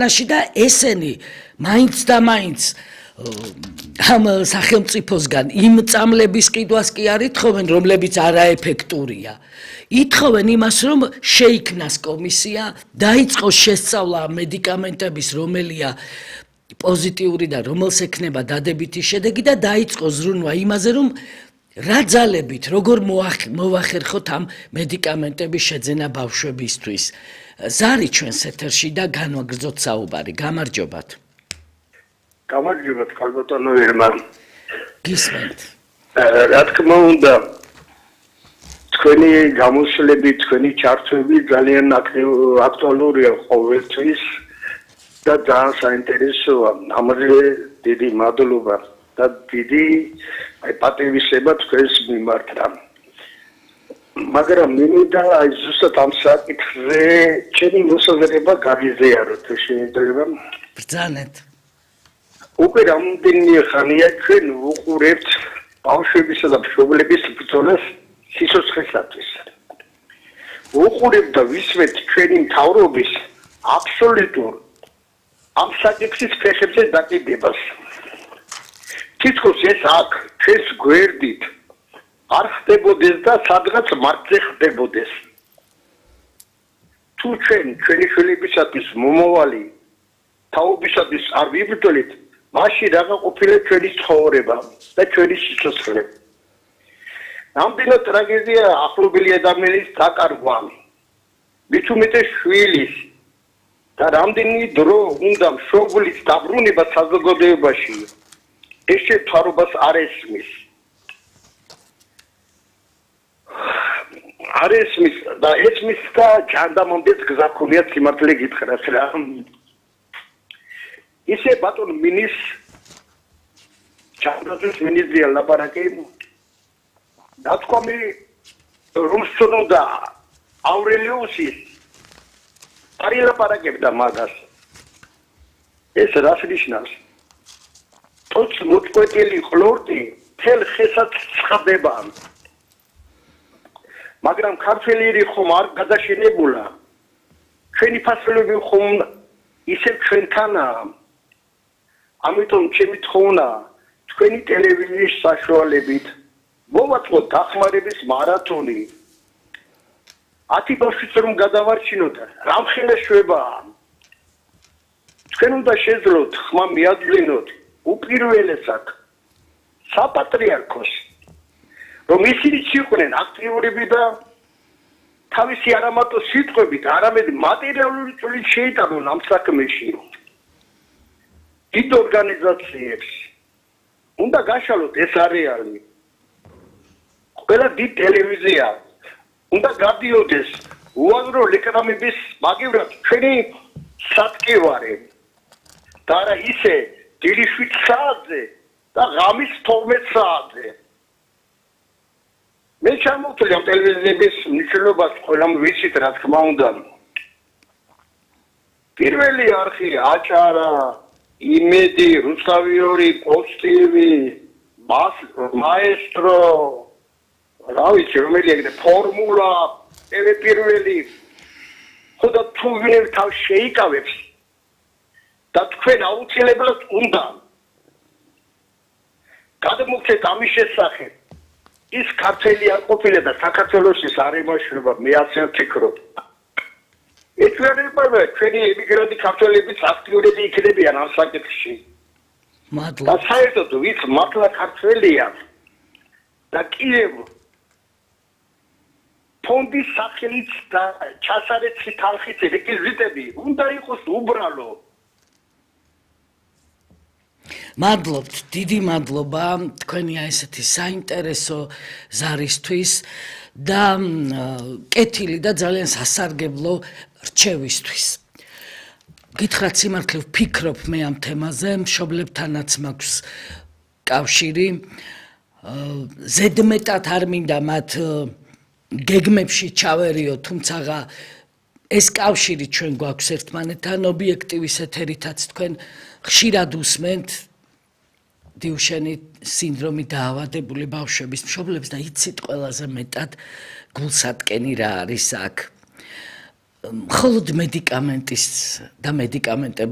და ესენი მაინც და მაინც ამ სახელმწიფოსგან იმ წამლების ყიდვას კი არ ითხოვენ, რომლებიც არაეფექტურია. ითხოვენ იმას, რომ შეიქმნას კომისია, დაიწყოს შესწავლა მედიკამენტების, რომელია პოზიტიური და რომელს ექნება დადებითი შედეგი და დაიწყოს ზრუნვა იმაზე, რომ რა ძალებით, როგორ მოვახერხოთ ამ მედიკამენტების შეძენა ბავშვებისთვის. ზარი ჩვენს ეთერში და განვაგრძოთ საუბარი. გამარჯობათ. გამარჯობათ, ქალბატონო ერმან. გისმენთ. რა თქმა უნდა, თქვენი გამოსვლები, თქვენი ჩართვები ძალიან აქტუალურია ყოველთვის და ძალიან საინტერესოა. ამაზე დიდი მადლობა და დიდი პატივისცემა თქვენს მიმართ. მაგრამ მინდა ზუსტად ამ საკითხზე ჩემი მოსაზრება გავიზიაროთ, შეიძლება? ბრძანეთ. უკვე რამდენი ხანია ჩვენ ვუყურებთ ბავშვებისა და მშობლების ბრძოლას სიცოცხლისათვის. ვუყურებთ და ვისმენთ ჩვენი მთავრობის აბსოლუტურ ამ საკითხის ფეხებზე დაკიდებას. თითქოს ეს აქ ჩვენს გვერდით არ ხდებოდეს და სადღაც მარტზე ხდებოდეს. თუ ჩვენი შვილებისათვის მომავალი თაობისათვის არ ვიბრძოლით, მაშინ რაღა ყოფილა ჩვენი ცხოვრება და ჩვენი სიცოცხლე. ნამდვილად ტრაგედია ახლობელი ადამიანის დაკარგვა. მით უმეტეს შვილის და რამდენი დრო უნდა მშობლის დაბრუნება საზოგადოებაში. ეს შეფარობას არ ესმის. არ ესმის და ესმის და ჯანდამომდეს გზა ქონიათ სიმართლე გითხრას რა. ისე ბატონ მინის ჩანდროძის მინისტრია ლაპარაკი დათქვამი რუსონო და ავრელიუსის არ ილაპარაკებდა მაგას. ეს რას ნიშნავს? თოც მოწყვეტილი ხლორტი თელ ხესაც ცხდება. მაგრამ ქართველი ხომ არ გადაშენებულა. ჩვენი ფასოლები ხომ ისე ჩვენთანაა. ამიტომ ჩემი თხოვნა თქვენი ტელევიზიის საშუალებით მოვაწყოთ დახმარების მარათონი. 10 ბავშვიც რომ გადავარჩინოთ, რამხელა შვებაა. თქვენ უნდა შეძლოთ ხმა მიაძვინოთ უპირველესად საპატრიარქოს, რომ ისინი იყვნენ აქტიურები და თავისი არამარტო სიტყვებით, არამედ მატერიალური წვლილი შეიტანონ ამ საქმეში. დიდ ორგანიზაციებს უნდა გაშალოთ ეს არეალი. ყველა დიდ ტელევიზია უნდა გადიოდეს უაზრო რეკლამების მაგივრად ჩვენი სატკივარი და არა ისე დილის 7 საათზე და ღამის 12 საათზე. მე ჩამოვთვლი ამ ტელევიზიების მნიშვნელობას ყველამ ვიცით, რა თქმა უნდა. პირველი არხი აჭარა, იმედი, რუსთავი, პოსტივი, მაესტრო, რა ვიცი, რომელი ეგრე ფორმულა, პირველი. ხოდა თუ ვინმე თავს შეიკავებს და თქვენ აუცილებლად უნდა გადმოგცეთ ამის შესახებ. ის ქართველი არ ყოფილა და საქართველოსის არ იმაშრება, მე ასე ვფიქრობ. ეჭვიანება ჩვენი ემიგრანტი ქართველებიც აქტიურები იქნებიან ამ საკითხში. მადლობა. და საერთოდ ვიც მართლა ქართველია და კიდევ ფონდის სახელით და ჩასარեցი თანხით რეკვიზიტები უნდა იყოს უბრალო. მადლობთ, დიდი მადლობა თქვენი ესეთი საინტერესო ზარისთვის და კეთილი და ძალიან სასარგებლო რჩევისთვის. გითხრათ სიმართლე ვფიქრობ მე ამ თემაზე, მშობლებთანაც მაქვს კავშირი. ზედმეტად არ მინდა მათ გეგმებში ჩავერიო, თუმცა ეს კავშირი ჩვენ გვაქვს ერთმანეთთან, ობიექტივის ეთერითაც თქვენ ხშირად უსმენთ დიუშენი სინდრომით დაავადებული ბავშვების მშობლებს და იცით ყველაზე მეტად გულსატკენი რა არის აქ. მხოლოდ მედიკამენტის და მედიკამენტების